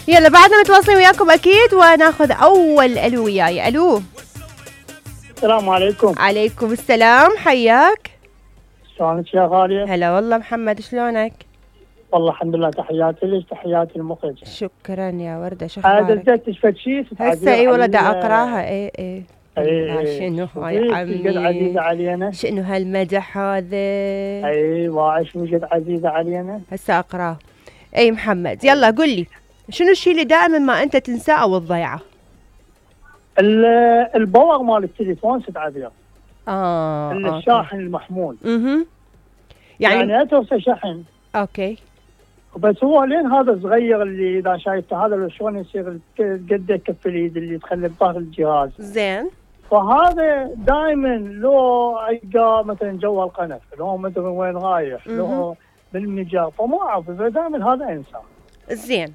يلا بعدنا متواصلين وياكم اكيد، وناخذ اول الو وياي. الو السلام عليكم. عليكم السلام، حياك. شلونك يا غالية؟ هلا والله محمد، شلونك؟ والله الحمد لله، تحياتي لك، تحياتي المخرج. شكرا يا وردة، شو هذا اخبارك؟ دزيت فد شيء هسه اي والله دا اقراها. اي شنو هاي قد عزيزة عمي؟ علينا. شنو هالمدح هذا؟ اي واعش قد عزيزة علينا. هسه اقراه. اي محمد يلا قل لي، شنو الشيء اللي دائما ما انت تنساه او تضيعه؟ الباور مال التليفون ست عبير. الشاحن المحمول. يعني اتوسع شحن. اوكي. بس هو لين هذا صغير اللي اذا شايفته هذا شلون يصير قد كف اليد اللي تخلي بظهر الجهاز. زين. فهذا دائما لو القى مثلا جوا القنف، لو مدري وين رايح، لو بالمجال، فما اعرف، دائما هذا انسى. زين.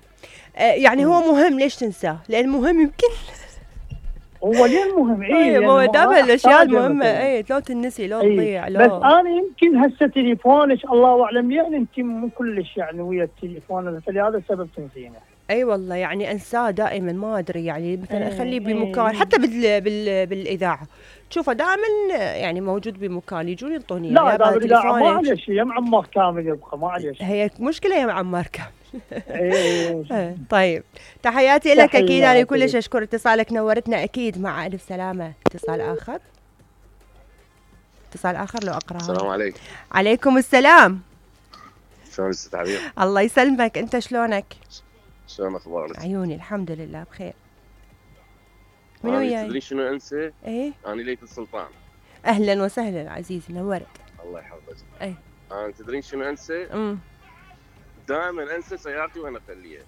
يعني هو مهم، ليش تنساه؟ لان مهم يمكن. هو ليه مهم؟ هو دائما الاشياء المهمه لو تنسي لو تضيع لو. بس انا يمكن هسه تليفونك الله اعلم، يعني انت مو كلش يعني ويا التليفون، فلهذا السبب تنسينه. اي والله يعني انساه دائما، ما ادري يعني مثلا اخليه بمكان، حتى بالاذاعه تشوفه دائما يعني موجود بمكان، يجون ينطوني لا بالاذاعه ما عليه شيء، يا معمر كامل يبقى ما عليه شيء. هي مشكله يا معمر كامل. طيب تحياتي لك اكيد، انا كلش اشكر اتصالك، نورتنا اكيد. مع الف سلامه. اتصال اخر لو اقرا. السلام عليكم. عليكم السلام. شلونك ست عبير؟ الله يسلمك، انت شلونك؟ شلون اخبارك؟ عيوني الحمد لله بخير. من وياي؟ تدري شنو انسى؟ ايه؟ انا ليث السلطان. اهلا وسهلا عزيزي، نورت. الله يحفظك. اي انا تدرين شنو انسى؟ دائما انسى سيارتي وانا اخليها.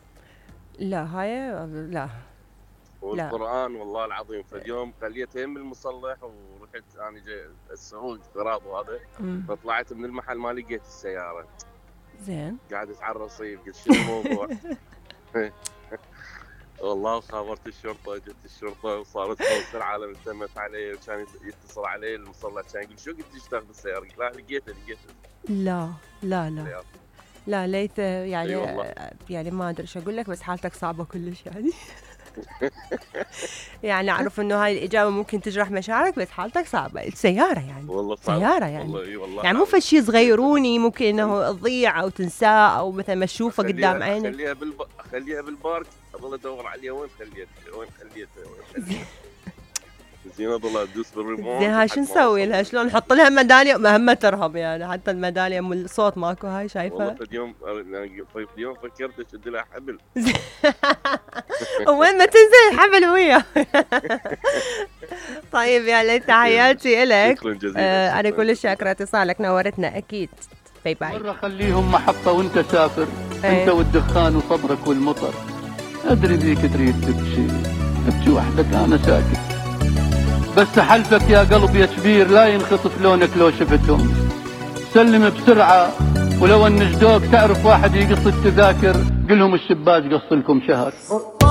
لا هاي لا. والقرآن والله العظيم، فاليوم خليتها يم المصلح ورحت انا جاي السعود غراض وهذا، فطلعت من المحل ما لقيت السيارة. زين. قاعد على الرصيف، قلت شنو الموضوع؟ والله خابرت الشرطة، جت الشرطة وصارت توصل العالم، التمت علي وكان يتصل علي المصلح، كان يقول شو قلت تشتغل بالسيارة؟ قلت لا لقيتها. لا ليث يعني يعني ما ادري ايش اقول لك، بس حالتك صعبة كلش يعني. يعني اعرف انه هاي الاجابة ممكن تجرح مشاعرك، بس حالتك صعبة. السيارة يعني والله سيارة يعني والله يعني مو فشي صغيروني ممكن انه تضيع او تنساه، او مثلا ما تشوفه قدام عينك. خليها بالبارك، اضل ادور عليها وين خليتها. زين اضل ادوس بالريموت. زين هاي شو نسوي لها؟ شلون نحط لها ميداليه؟ مهمه ترهب يعني، حتى الميداليه من الصوت ماكو. هاي شايفه والله اليوم فكرت اشد لها حبل. وين ما تنزل الحبل وياه. طيب يا ليث تحياتي لك. شكرا جزيلا. انا كلش شاكره اتصالك، نورتنا اكيد. باي باي. مرة خليهم محطة وانت سافر، انت والدخان وصبرك والمطر. ادري ذيك تريد تبكي وحدك، انا ساكت، بس حلفك يا قلب يا كبير لا ينخطف لونك لو شفتهم. سلم بسرعة، ولو النجدوك تعرف واحد يقص التذاكر، قلهم الشباك قص لكم شهر.